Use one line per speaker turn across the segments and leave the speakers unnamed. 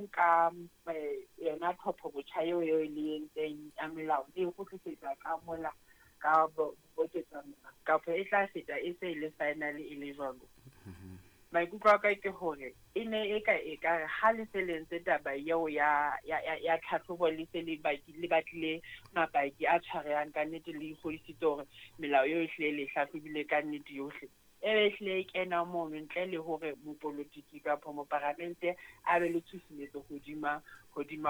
Nka yona tlhopho botjha eo eo le entseng ya melao le e kgutlisetsa ka mola ka boketsa melao kapa e tla feta e se e le final e le jwalo? Maikutlo a ka ke hore e ne e ka ekare ha le se le entse taba eo ya tlhahlobo, le se le le batlile mapaki a tshwarehang ka nnete, le ikgodisitse hore melao eo e hlile le hlahlobile ka nnete yohle, e be ehlile e kena mono ntle le hore mopolotiki kapa moparamente a be le tshusumetso hodima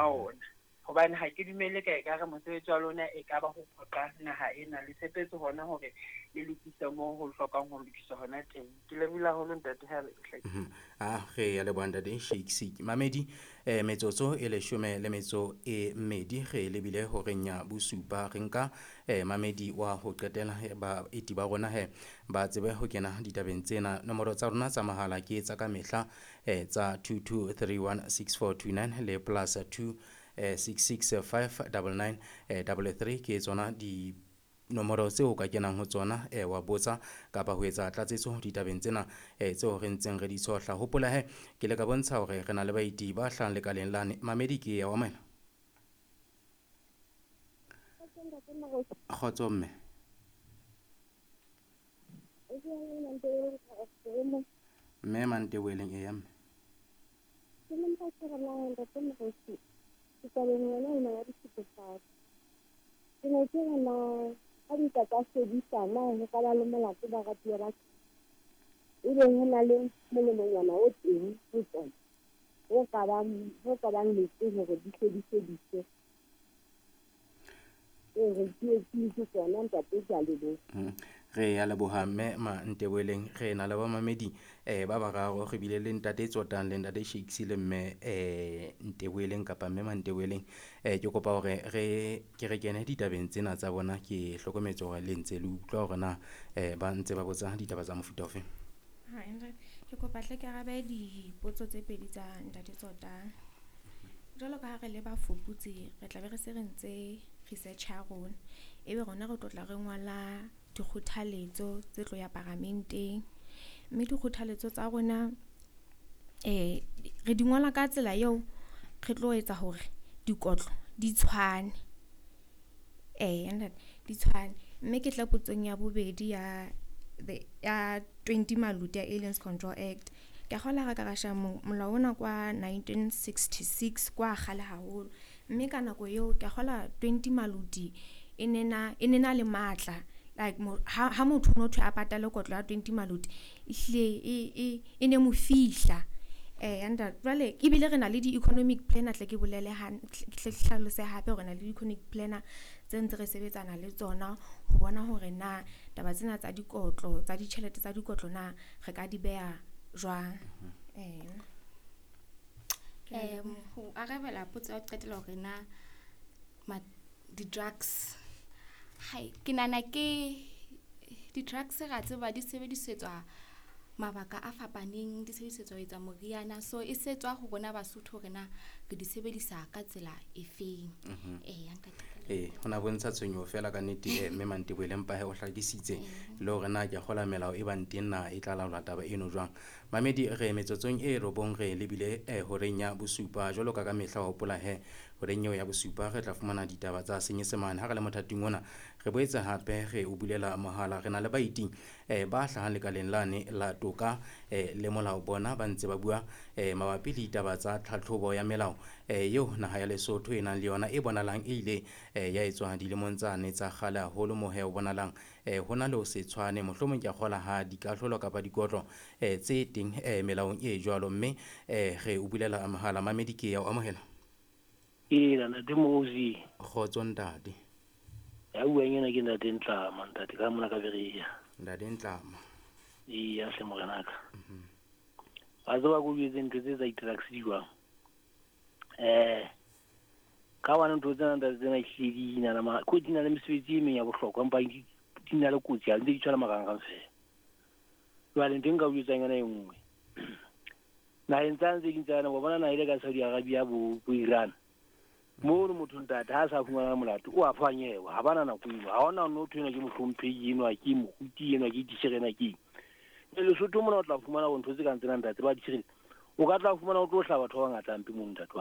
ona. Hobane ha ke dumele ka ekare mosebetsi wa lona e ka ba ho phoqa naha ena. Le tshepetse hona hore le lokise moo ho hlokang ho lokiswa hona teng. Ke lebohile haholo, ntate, ha re hlakile.
A re ya leboha, ntate Shakes. Mamedi, metsotso e 12 re lebile horeng ya bosupa. Re nka mamedi wa ho qetela, baeti ba rona he ba tsebe ho kena ditabeng tsena. Nomoro tsa rona tsa mahala ke tsa ka mehla, tsa 22316429 le +2 665 99 33, ke tsona di nomoro tseo o ka kenang ho tsona, wa botsa kapa ho etsa tlatsetso ditabeng tsena tseo re ntseng re di tshohla. Hopola he ke le ka bontsha hore re na le baeti ba hlahang lekaleng lane. Mamedi, ke ya wa moela. Kgotso, mme. Mme Manteboeleng, e ya mme.
Ke ne nka ke re na, ntate Moruti, tabeng yona ena ya dithethefatsi. Ke ne ke re na ha di ka tsa fedisa na ho ka ba le molato baratuwa ba ka? Ebe ho na le molemonyana o teng ho tsona ho ka bang letse hore di hle di fediswe. Ee, re tsietsing ke tsona, ntate, ke a leboha.
Re ya leboha, mme Manteboeleng. Re na le bamamedi ba bararo. Re bile le ntate Tsotang le ntate Shakes le mme Nteboeleng kapa mme Manteboeleng. Ke kopa hore re ke re kene ditabeng tsena tsa bona. Ke hlokometse hore le ntse le utlwa hore na ba ntse ba botsa ditaba tsa mofuta ofe.
Ha ntate, ke kopa hle ke arabe dipotso tse pedi tsa ntate Tsotang. Jwalo ka ha re le bafuputsi, re tlabe re se re ntse research ya rona. Ebe rona re tlo tla re ngola dikgothaletso tse tlo ya paramenteng. Mme dikgothaletso tsa rona re di ngola ka tsela eo re tlo etsa hore dikotlo di tshwane. Ntate, di tshwane. Mme ke tla potsong ya bobedi ya the ya 20 Maluti ya Aliens Control Act. Ke a kgolwa ha re ka ra sheba molao ona kwa 1966, kwa kgale haholo. Mme ka nako eo ke a kgolwa 20 Maluti e ne na le matla, like ha motho no thwe a patale kotlo ya 20 Maluti, ehlile e ne mo fihla. Ntate, jwale ebile re na le di-economic planner, tle ke bolele tle ke hlalose hape hore re na le di-economic planner tse ntse re sebetsana le tsona ho bona hore na taba tsena tsa dikotlo tsa ditjhelete tsa dikotlo na re ka di beha jwang.
Ho arabela potso ya ho qetela hore na di-drugs, hai, ke nahana ke di-drugs, ra tseba di sebedisetswa mabaka a fapaneng, di sebedisetswa ho etsa moriana, so e setswa ho rona Basotho hore na re di sebedisa ka tsela efeng. Eya, ntate, ka leboha.
Ee, ho na bontsha tshwenyeho fela ka nnete, mme Manteboeleng, mpa he o hlakisitse le hore na ke a kgola melao e bang teng na e tla laola taba eno jwang. Mamedi, re metsotsong e 9 re lebile horeng ya bosupa. Jwalo ka ka mehla, wa hopola he horeng eo ya bosupa re tla fumana ditaba tsa Senyesemane. Ha re le mothating ona, re boetse hape re o bulela mohala. Re na le baeti ba hlahang lekaleng lane la toka le molao. Bona ba ntse ba bua mabapi le ditaba tsa tlhatlhobo ya melao eo naha ya Lesotho e nang le yona, e bonalang e ile ya etswa dilemong tsane tsa kgale haholo, mo he o bonalang ho na le ho se tshwane, mohlomong ke a kgola ha dikahlolo kapa dikotlo tse teng melaong e jwalo. Mme re o bulela mohala. Mamedi, ke ya o amohela.
Ee, ntate Mozi.
Kgotso, ntate.
Ya buang ena ke ntate Ntlama, ntate, ka mona ka Berea.
Ntate Ntlama.
Ee, hle, morenaka. Wa tseba ko jwetse ntho tse tsa di-drugs di jwang? Ka hobane ntho tsena, ntate, tsena ehlile di na le ko di na le mesebetsi e meng ya bohlokwa, empa di na le kotsi, ha ntse di tshwana marangrang fela. Jwale ntho e nka o jwetsang yona e nngwe. Naheng tsane tse ding tsane, wa bona naha ile ka Saudi Arabia, bo Iran. Mono motho, ntate, ha a sa fumana molato, o a fanyewa, ha bana nako eno. Ha hona no thwe ena ke mohlomphehi enwa, ke moruti enwa, ke titjhere ena, ke eng. Lesotho mona o tla fumana hore ntho tse kang tsena, ntate, ba di tshireletsa. O ka tla fumana o tlo hlaha batho ba bangata hampe mono, ntate wa.